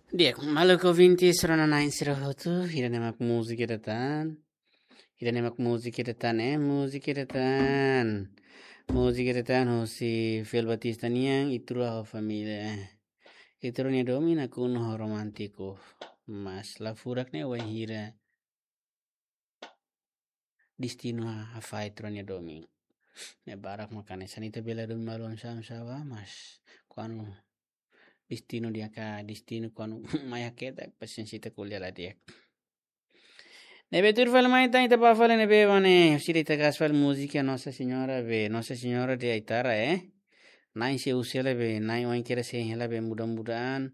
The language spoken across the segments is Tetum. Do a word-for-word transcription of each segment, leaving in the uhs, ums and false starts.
Di'ak, maluk ouvinte, rona-na'in sira hotu, ida-ne'e mak múzika ida tan. Ida-ne'e mak múzika ida tan, eh, múzika ida tan. Múzika ida tan, husi Fel Batista nian, Ita Rua ho Família. Ita rua nia domin nakonu ho romántiku. Mas la furak ne'e wainhira destinu ha-, hafahe ita rua nia domin. Ne'e barak mak hanesan ita bele domin malu oinsá-oinsá bá, mas kuandu destinu di'ak ka, destinu kuandu mai haketak, pasiénsia ita ko'alia la di'ak. Ne'ebé tuir fali mai tan ita bá fali ne'ebé mak ne'e, sira ita gas fali múzika Nossa Senhora be, Nossa Senhora de Aitara, eh? Na'in sei husu hela be, na'in oin kedas hein hela be mudah-mudahan.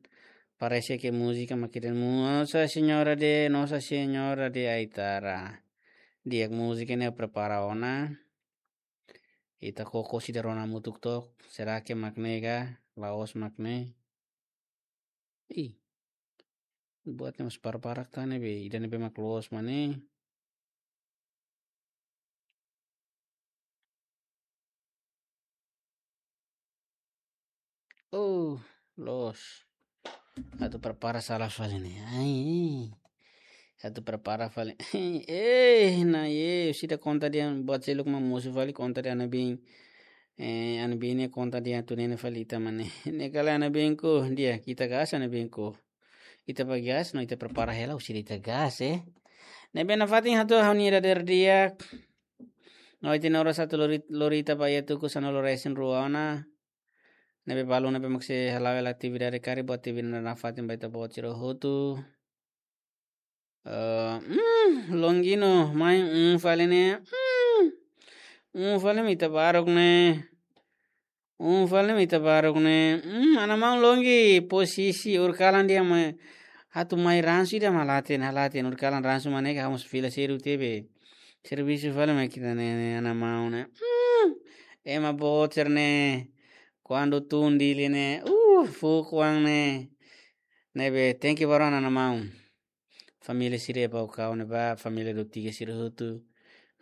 Parese ke múzika mak ida Nossa Senhora de, Nossa Senhora de Aitara. Di'ak, múzika ne'e prepara ona. Ita koko sida rona hamutuk took. Será que mak ne'e ka? La'ós mak ne'e. Ih. Buat ne'e mós para-para tan ne'e be, ida ne'ebé mak loos mak ne'e. Oh, loos. Atu prepara sala fali ne'e. Ai. Atu prepara fali. Eh, na ye, sida konta dehan buat seluk mak mosu fali konta dehan ana biin. Eh, ana biin ne'e konta dehan atu nene fali ita mak ne'e. Ne'e kala ana biin ko, di'ak, ita gas ana biin ko. Ita bá gas, no ita prepara hela, husi ita gas, eh. Ne'ebé nafatin hato'o ha'u-nia dadeer di'ak. No ita nora satu lori, lori ita bá iha tuku sanulu resin rua ona. Ne'ebé balu ne'ebé mak sei hala'o hela atividade karik, buat atividade nafatin ba ita-boot sira hotu. Eh, mm, Longino, mai, mm, fali ne'e. Mm, mm, fali mai ita baruk ne'e. Mm, fali mai ita baruk ne'e. Mm, ana maun Longi, posisi horikalan dehan mai. Atu mai ransu ida mak la hatene, la hatene, horikalan ransu mak ne'e ka ha'u mós fila sedu tebe. Servisu fali mai ita-nia ne'e, ne'e, ana maun ne'e. Mm, ema boot sira ne'e. Kuandu tun Dili ne'e. Uh, fuuk oan ne'e. Ne'ebé, thank you ba rona ana maun. Família sira Baucau ne'ebá, família Dotiga sira hotu.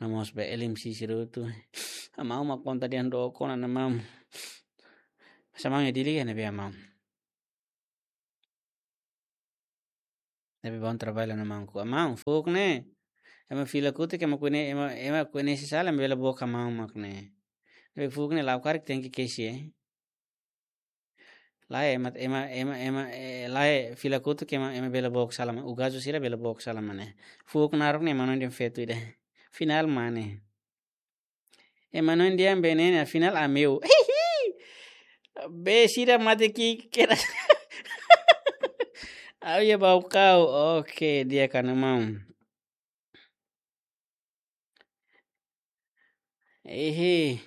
No mós ba L M C sira hotu. Ana maun mak konta dehan dook ona, ana maun. Mas ana maun iha Dili ka ne'ebé, ana maun? Ne'ebé bá ona traballu, ana maun ko. Ana maun, fuuk ne'e. Ema fila kotuk, ema koñese, ema, ema koñese sala, ema bele book ana maun mak ne'e. Ne'ebé fuuk ne'e, la'o karik tenke kesi, eh. Lae, ema, ema, ema, ema, eh, lae, fila kotuk ema, ema bele book sala mak, ugazu sira bele book sala mak ne'e. Fuuk naruk ne'e, ema hanoin dehan feto ida. Afinál mak ne'e. Ema hanoin dehan be ne'e, afinál ameu. Be sira mate ki'ik kedas. Ha'u iha Baucau. Oke, di'ak, ana maun. Ehe.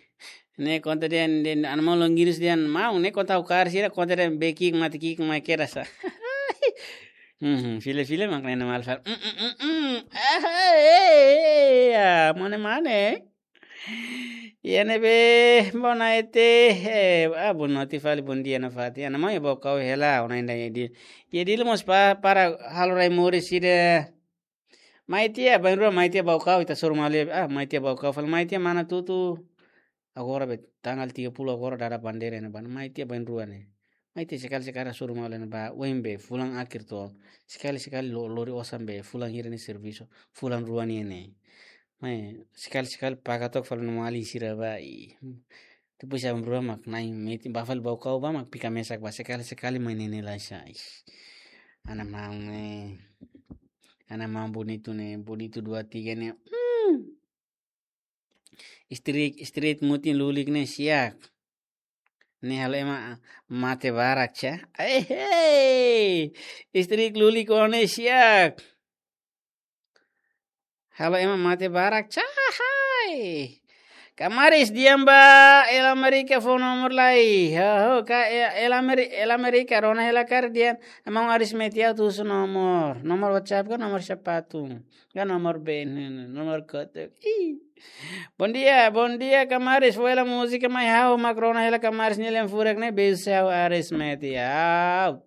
Ne'e konta dehan, dehan, ana maun Longinus dehan, maun, ne'e konta ha'u kaer sira, konta dehan be ki'ik mate ki'ik mai kedas sa. Mhm, fila-fila mak ne'e, ana maun fali. Mm, mm, mm, mm. Ah, eh, eh, eh, ah, mane, mane. Iha ne'ebé, bona ete, eh, ah, boa noite fali, bondia nafatin. Ana maun iha Baucau hela, ona inda iha Dili. Iha Dili mós pa-, para halo rai moris sira. Mai tiha, bainrua mai tiha Baucau, ita hasoru malu iha, ah, mai tiha Baucau, fali mai tiha mana tutu. Agora be, tanggal tiga puluh agora dada bandeira ne'ebá, mai tiha bainrua ne'e. Mai tiha sekali-sekali hasoru malu ne'ebá, oin be, fulan akhir to'o. Sekali-sekali lo-, lori osan be, fulan hira nia servisu, fulan rua nian ne'e. Mai, sekali-sekali paga took fali no mali sira bá, i. Depois aban-bainrua mak na'in metin, bá fali Baucau bá mak fika mesak bá, sekali-sekali mai ne'e ne'e lai sa, ih. Ana maun ne'e. Ana maun bonitu ne'e, bonitu dua tiga ne'e. Hmm. Street, street mutin lulik ne'e siak. Ne'e halo ema mate barak sa. Eh, hei. Street lulik ne'e siak. Halo ema mate barak sa, hai. Kamaris dehan ba El Amerika fó nomor lai. Ho, ho, ka El, El Ameri-, El Amerika rona hela karik dehan. Ana maun Aris Metiau husu nomor. Nomor WhatsApp ka nomor sapatu. Ka nomor B N, nomor kotuk. Ih. Bondia, bondia, kamaris. Fó hela múzika mai ha'u mak rona hela kamaris nia lian furak ne'e, beijo seu Aris Metiau.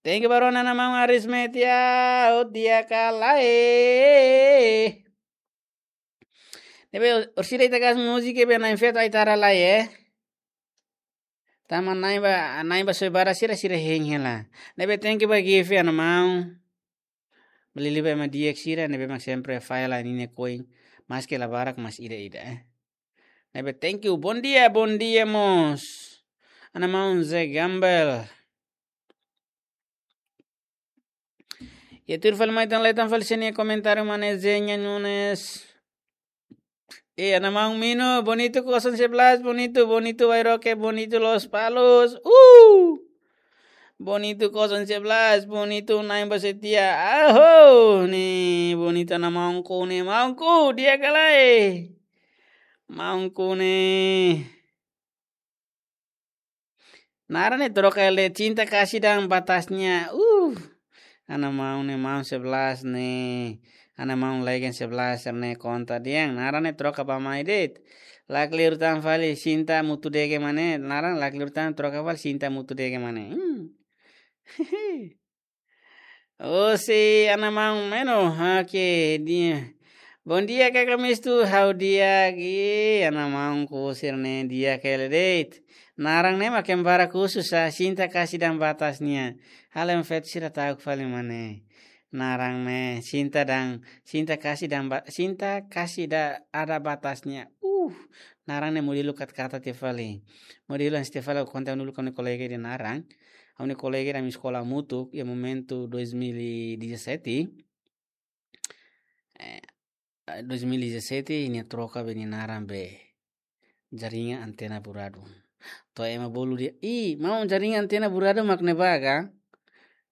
Thank you ba rona, ana maun Aris Metiau, di'ak ka lae. Ne'ebé orsida ita gas múzika be na'in feto Aitara lai, eh. Tanba na'in ba, na'in ba soe barak sira, sira hein hela. Ne'ebé thank you ba Givi, ana maun. Ba liuliu ba ema di'ak sira, ne'ebé mak sempre falla ninia koin, maske la barak mas ida-ida, eh. Ne'ebé thank you, bom dia, bom dia mós. Ana maun Zé Gambel. Iha tuir fali mai tan, leten fali sira-nia komentáriu, Mane Zenya Nunes. Eh, ana maun Mino, bonitu kosong sebelas, bonitu, bonitu Wairoke, bonitu Lospalos. Uh! Bonitu kosong sebelas, bonitu na'in ba setia. Aho, ne'e, bonitu ana maunku ne'e, maunku, di'ak ka lae? Maunku ne'e. Naran ne'e troka hela de'it, cinta kasih dan batasnya. Uh. Ana maun ne'e, maun sebelas ne'e. Ana maun legend sebelas ne'e, konta dehan. Naran ne'e troka ba mai de'it. Lakleur tan fali, cinta mutu de'it ke mane. Naran lakleur tan, troka fali, cinta mutu de'it ke mane. Hmm. Osi, ana maun Meno, oke, di'ak. Bom dia, Kaka Mistu, ha'u di'ak, i, ana maunku sira-ne'e di'ak hela de'it. Naran ne'e mak ema barak husu sa, cinta kasih dan batasnya. Halo ema feto sira ta'uk fali mane. Naran ne'e, cinta dan, cinta kasih dan ba-, cinta kasih da-, ada batasnya. Uh, naran ne'e modelu kat-kata tiha fali. Modelu hanesan tiha fali, konta uluk ha'u-nia kolega ida naran. Ha'u-nia kolega ida ami eskola hamutuk, iha momentu dois mil e dezassete. Eh, dois mil e dezassete, nia troka be nia naran be jaringan antena buradu. To'o ema bolu dehan, "Ih, maun, jaringan antena buradu mak ne'ebá ka?"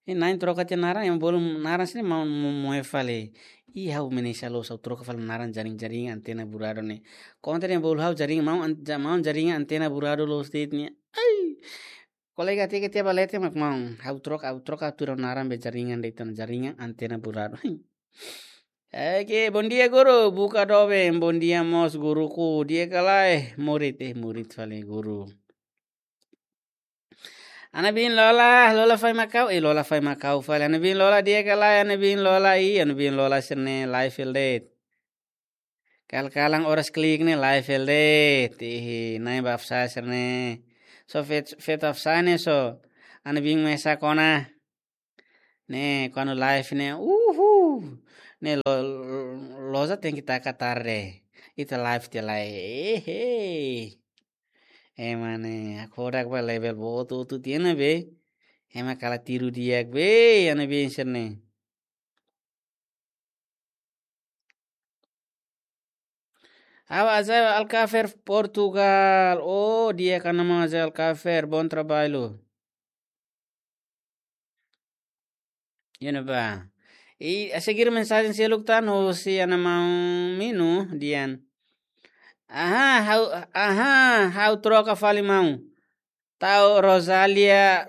I na'in troka tiha naran, ema bolu naran sira-ne'e maun mo-, moe fali. Ih, ha'u mesak loos, ha'u troka fali naran jaring-, jaringan antena buradu ne'e. Konta dehan bolu ha'u jaring, maun an-, ja-, maun jaringan antena buradu loos de'it ne'e. Ai! Kolega tiha ke tiha ba leten mak maun. Ha'u troka, ha'u troka atu ha'u-nia naran be jaringan de'it ona, jaringan antena buradu. Oke, bom dia, guru. Buka doben. Bom dia mós, guruku. Di'ak ka lae? Murid, eh, murid fali guru. Ana biin Lola, Lola Fai Makau, eh, Lola Fai Makau fali. Ana biin Lola, di'ak ka lae, ana biin Lola, i, ana biin Lola sira-ne'e live hela de'it. Kal-kalan oras klik ne'e live hela de'it. Ih, na'in ba afsai sira-ne'e. So fet-, feto afsai ne'e so. Ana biin mesak ona. Ne'e, kuandu live ne'e, uhu. Ne'e lo-, lo-, loja tenke taka tarde. Ita live tiha lai. Ehe. Ema ne'e, hakfodak ba level boot hotu tiha ona be. Ema kala tiru di'ak be, ana biin sira-ne'e. Ha'u Azael Alcafer, Portugal. Oh, di'ak ka ana maun Azael Alcafer, bom trabalho. Iha ne'ebá. I, a seguir mensajen seluk tan husi ana maun Mino dehan. Aha, ha'u, aha, ha'u troka fali maun. Tau Rosalia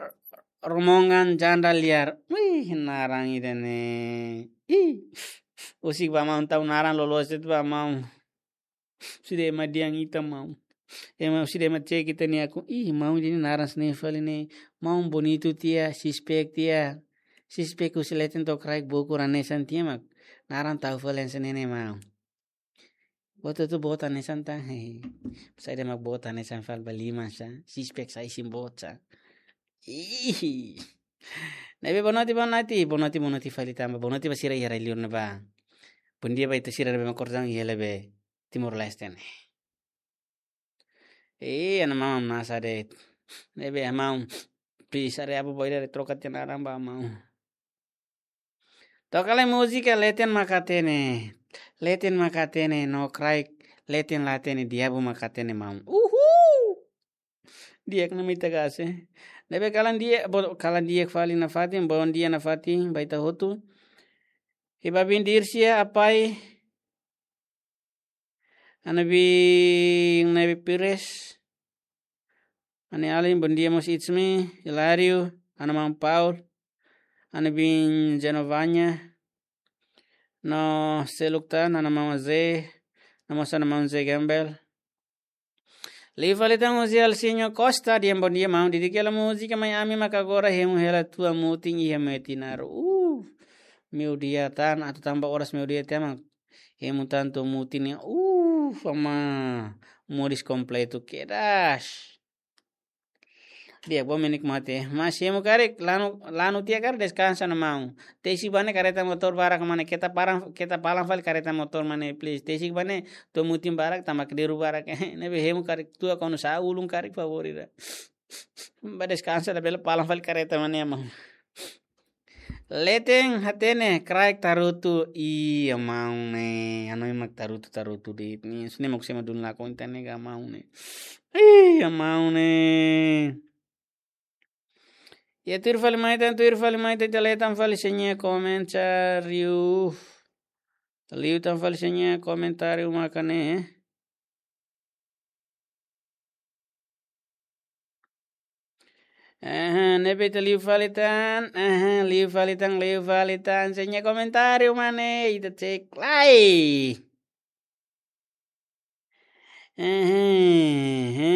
Romongan Janda Liar. Wih, naran ida-ne'e. Ih, husik ba maun, tau naran loloos de'it ba maun. Sira ema dehan ita maun. Ema sira ema cek ita-nia akun. Ih, maun ida-ne'e naran sira-ne'e fali ne'e. Maun bonitu tiha, six pack tiha. Six pack husi leten to'o kraik bokur hanesan tiha mak. Naran tau fali hanesan ne'e ne'e maun. Boot hotu boot hanesan tan. Saida mak boot hanesan fali ba liman sa. Six pack sa isin boot sa. Ih. Ne'ebé boa noite, boa noite. Boa noite, boa noite fali tanba. Boa noite ba sira iha rai-liur ne'ebá. Bom dia ba ita sira ne'ebé mak kordang iha ne'ebé Timor-Leste ne'e. Eh, ana maun nasa de'it. Ne'ebé maun. Please, ari abu boy dari troka tiha naran ba maun. Toka lai múzika Leten Maka Hatene. Leten Maka Hatene, no crack, leten la hatene, diabu maka hatene maun. Uhul! Di'ak ona ita gase. Ne'ebé kalan di'ak, bo-, kalan di'ak fali nafatin, bom dia nafatin, ba ita hotu. Iha biin Dircia, Apai. Ana biin Nebi Pires. Ana alin, bom dia mós it's me, Hilário, ana maun Paul. Ana biin Genovanya. No seluk tan, ana maun Zé. No mós ana maun Zé Gambel. Liu fali tan husi Alcinho Costa, dehan bom dia maun, didik hela múzika mai ami maka agora hemu hela tua mutin iha Metinaro. Uh, meiudia tan, atu tanba oras meiudia tan mak hemu tan tua mutin ne'e. Uh, ama, moris kompletu kedas. Di'ak, bo menik mate. Mas hemu karik, lanu, lanu tiha karik deskansa ona maun. Tesik ba ne'e kareta motór barak mane, keta paran, keta palan fali kareta motór mane, please. Tesik ba ne'e, to'o mutin barak, tanba kleur barak. Ne'ebé hemu karik tua konu sa ulun karik favor ida. Ba deskansa ona bele palan fali kareta mane, maun. Leten hatene, kraik tarutu, ih, maun ne'e. Hanoin mak tarutu, tarutu de'it ne'e. Sine mak sema dun la konta ne'e ka maun ne'e. Ih, maun ne'e. Ya, tuir fali mai tan, tuir fali mai tan, ita leten fali sira-nia komentáriu. Liu tan fali sira-nia komentáriu maka ne'e. Aha, ne'ebé ita liu fali tan, aha, liu fali tan, liu fali tan, sira-nia komentáriu mane, ita cek lai. Aha, aha,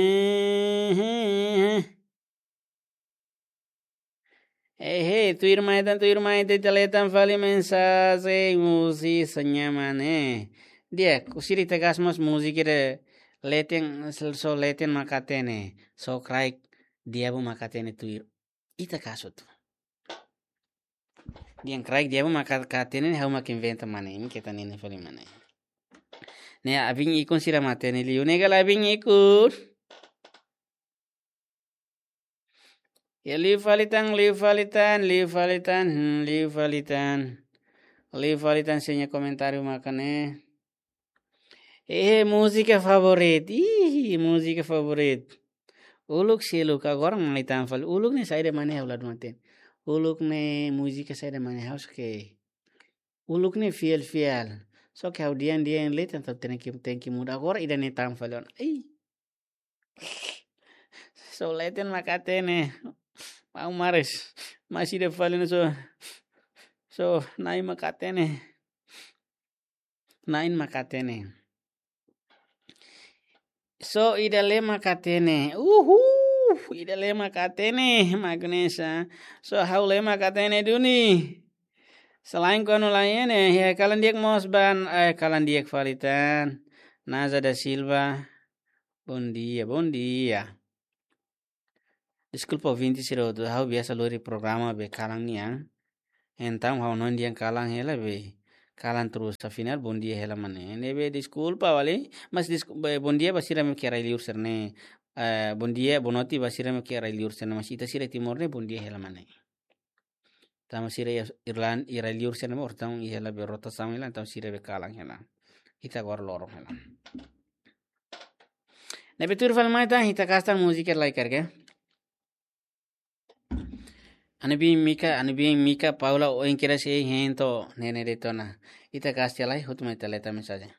aha. Ehe, tuir mai tan, tuir mai tan, ita leten fali mensajen, musik sira-nia mane. Di'ak, sira ita kasu mós musik ida leten, só leten mak hatene, só kraik di'ak mak hatene tuir. Ita kasu tu. Dehan kraik di'ak mak hatene, ha'u mak inventa mane, imi keta nini fali mane. Ne'e abin ikun sira mak hatene liu, ne'e ka lae abin ikun. Ya, liu fali tan, liu fali tan, liu fali tan, hmm, liu fali tan. Liu fali tan sira-nia komentáriu maka ne'e. Eh, múzika favorit. Ih, múzika favorit. Uluk seluk, agora mai tan fali. Uluk ne'e saida mane ha'u la hatene. Uluk ne'e múzika saida mane ha'u suka. Uluk ne'e fiel-fiel. Só ke ha'u dehan-dehan leten, entaun tenke, tenke muda. Agora ida-ne'e tan fali ona. Ih. Só leten mak hatene. Maun Mares. Mas ida fali ne'e só. Só na'in mak hatene. Na'in mak hatene. Só ida-ne'e mak hatene. Uhuu. Ida-ne'e mak hatene. Magnesa. Só ha'u-ne'e mak hatene duni. Selain konu lain ne'e, ya kalan di'ak mós ba, eh, kalan di'ak fali tan. Naza da Silva. Bom dia, bom dia. Deskulpa ouvinte sira hotu, ha'u biasa lori programa be kalan nian. Entaun ha'u hanoin dehan kalan hela be kalan terus, afinál bom dia hela mane. Ne'ebé deskulpa fali, mas desku-, be, bom dia ba sira mak iha rai-liur sira-ne'e. Eh, bom dia, boa noite ba sira mak iha rai-liur sira-ne'e, mas ita sira Timor ne'e bom dia hela mane. Tanba sira iha Irlan-, iha rai-liur sira-ne'e mós, entaun iha hela be rotasaun hela, entaun sira be kalan hela. Ita agora loron hela. Ne'ebé tuir fali mai tan, ita kasu tan múzika lai karik. Ha'u-nia biin Mika, ha'u-nia biin Mika Paula, oin kedas hein to'o ne'e ne'e de'it ona. Ita kasu tiha lai, hotu mai ita leten mensajen.